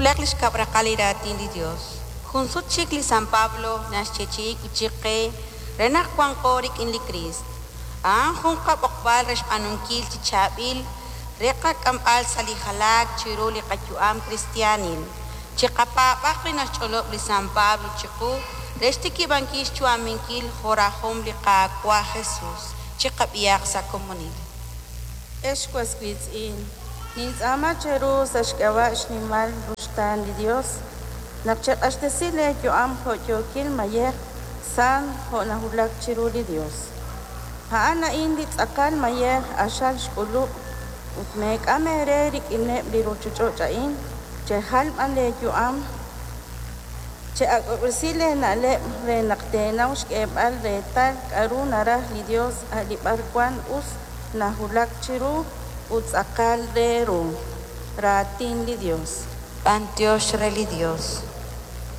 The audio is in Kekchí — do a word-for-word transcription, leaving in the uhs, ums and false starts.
Qak'ulaq li xkab' raqal li Raatin li Yos. Jun sut chik li San Pablo naxyeechi'i wi' chik qe re naq wanqo rik'in li Kriist. A'an jun qab'oqb'al re xb'aanunkil chi chaab'il, re qak'amb'al sa' li jalaak chiru li qayu'am kristiaanil. Chiqapaab'aq li naxch'olob' li San Pablo chiqu re xtikib'ankil xyu'aminkil jo' rajom li Qaawa' Jesus. Chiqab'ihaq sa' komonil. Ex was wiitz'in, nintz'aama cheru sa' xk'ab'a' xnimal ruxtaan li Yos naq cheq'axtesi leeyu'am jo' yookil mayej, sant jo' nawulak chiru li Yos. A'an a'in li tz'aqal mayej q'axal xk'ulub'. Ut meek'am eere rik'ineb' li ruuchich'och' a'in, chejal b'an leeyu'am, che'ak'ob'resi leena'leb' re naq teenaw xk'eeb'al reetal k'aru naraj li Yos, a' li b'arwan us, nawulak chiru ut tz'aqal re ru. Raatin li Yos. B'anyox re li Yos.